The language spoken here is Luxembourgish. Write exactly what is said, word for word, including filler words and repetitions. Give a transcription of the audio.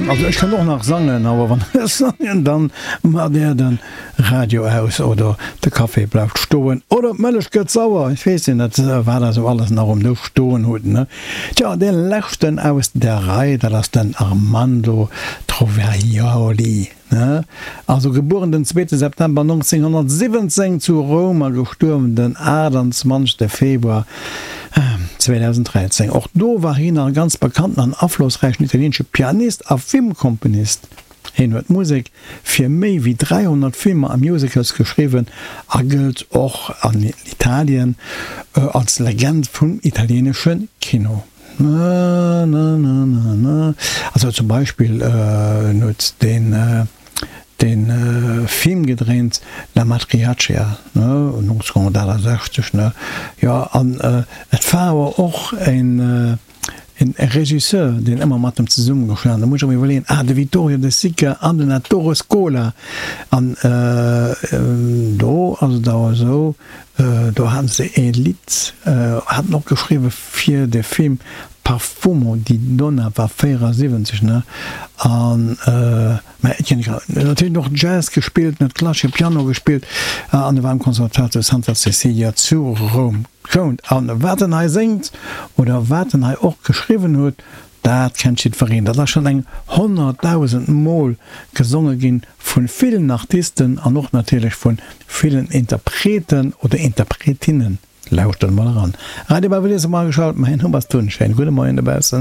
Also ech kann och nach sangen, awer wann ech sangen, dann maacht Där den Radio aus oder de Café bleift stoen oder d'Mëllech gëtt sauer, ech weess net, wat Der esou alles nach um Dësch stoen hutt, ne? Tjo, dee leschten aus der Rei, dat ass den Armando Trovaioli, ne? Also gebueren den zweete September nonzénghonnertsiwwenzéng zu Roum a gestuerwen den aachtanzwanzegste Februar zweedausenddräizéng. Och do war hien nach e ganz bekannten an aflossräichen italieenesche Pianist a Filmkomponist. Hien huet Musek fir méi wéi dräihonnert Filmer a Musicals geschriwwen a gëllt och an Italien als Legend vum italieenesche Kino. Also zum Beispill en huet deen dee Film gedréint La Matriarchia, ne, nonzénghonnertaachtasechzeg, ne, jo, an et war awer och en E Regisseur, deen ëmmer mat em zesummegeschafft huet, da muss ech erëm iwwerleeën, ah, de Vittorio De Sica an den Ettore Scola. An do ass et awer esou, do haten se e Lidd, haten och geschriwwe fir de Film Parfumo di Donna, war véierasiwwenzeg, ne, an, mä Etienne Grau huet natierlech och Jazz gespillt, en huet klassesche Piano gespillt an e war am Conservatoire zu Santa Cecilia zu Roum. Kount. An wat en hei séngt oder wat en hei och geschriwwen huet, dat kennt jiddwereen. Dat ass schonn eng honnertdausend Mol gesonge ginn vu villen Artisten an och natierlech vu villen Interpreten oder Interpretinnen. Lauschtert emol eran. Radio Belvedere ass emol ageschalt. Mäin Numm ass Tun. Schéine gudde Moien dobaussen.